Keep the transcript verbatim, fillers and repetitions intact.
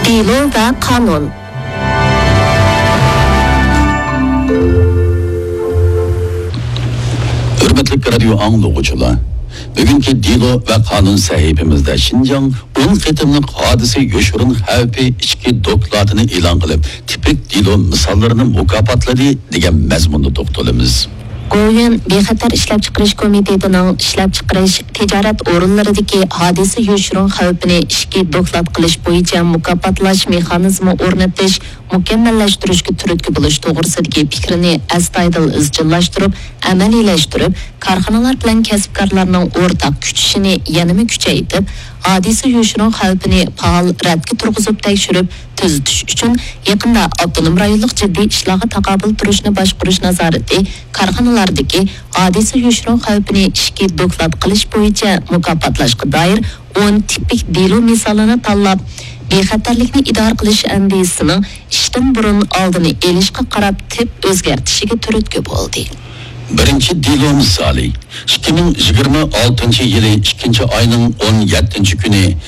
دېلو ۋە قانۇن. ھۆرمەتلىك رادىيو ئاڭلىغۇچىلار، بۈگۈنكى دېلو ۋە قانۇن سەھىپىمىزدە شىنجاڭ ئون قېتىملىق ھادىسە يوشۇرۇن خەۋپى ئىچكى دوكلاتىنى ئېلان قىلىپ، تىپىك دېلو مىساللىرىنى مۇكاپاتلىدى دېگەن مەزمۇندا توختىلىمىز. گوۋۇيۈەن بىخەتەر ئىشلەپچىقىرىش كومىتېتىنىڭ ئىشلەپچىقىرىش، تىجارەت ئورۇنلىرىدىكى ھادىسە يوشۇرۇن خەۋپىنى ئىچكى دوكلات قىلىش بويىچە مۇكاپاتلاش مېخانىزمى ئورنىتىش، مۇكەممەللەشتۈرۈشكە تۈرتكە بولۇش توغرىسىدىكى پىكرىنى ئەستايىدىل ئىزچىللاشتۇرۇپ، ئەمەلىيلەشتۈرۈپ، كارخانىلار بىلەن كەسىپكارلارنىڭ ئورتاق كۈچىشىنى يەنىمۇ كۈچەيتىپ، ھادىسە يوشۇرۇن خەۋپىنى پائال رەتكە تۇرغۇزۇپ تەكشۈرۈپ، تۈزىتىش ئۈچۈن يېقىندا ئاپتونوم رايونلۇق جىددىي ئىشلارغا تاقابىل تۇرۇشنى باشقۇرۇش نازارىتى كارخانىلاردىكى ھادىسە يوشۇرۇن خەۋپىنى ئىچكى دوكلات قىلىش بويىچە مۇكاپاتلاشقا دائىر ئون تىپىك دېلو مىسالىنى تاللاپ، بىخەتەرلىكنى ئىدارە قىلىش ئەندىزىسىنىڭ ئىشتىن بۇرۇن ئالدىنى ئېلىشقا قاراپ تىپ ئۆزگەرتىشىگە تۈرتكە بولدى. بىرىنچى دېلو مىسالى، ئىككى مىڭ يىگىرمە ئالتىنچى يىلى ئىككىنچى ئاينىڭ ئون يەتتىنچى كۈنى